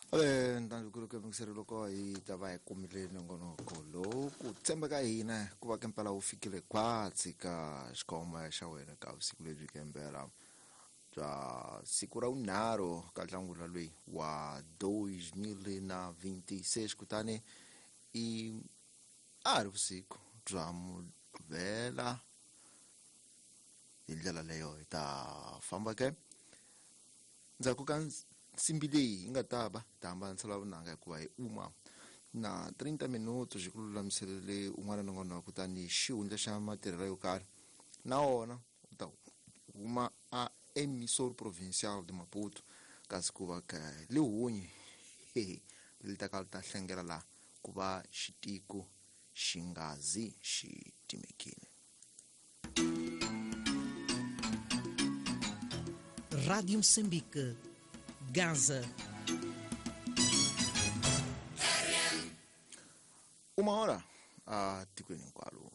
Ntandzukulu yingiseri loko hi ta va hi kumile nongonoko lowu ku tshemba ka hina ku va kempela wu fikile khwatsi ka xikhoma xa wena ka vusiku lebyi kempela bya siku ra vunharhu ka nhlangula loyi wa 2026, kutani i a ri vusiku bya Mugqivela. Hi ndlela leyo hi ta famba ke ndzhaku ka nsimbi leyi yi nga ta va ta hambanisela vunanga, hikuva hi uma na 30 minuto xi ku lulamiselele un'wana na un'wana, kutani xihundla xa matirhelo yo karhi na wona u ta huma a Emissor Provincial de Maputo, kasi ku va ka lihunyi li ta ka li ta hlengela laha ku va xitiko xi nga zi xi timekile. Rádio Moçambique, Gaza. Uma hora a tikweni hinkwalo.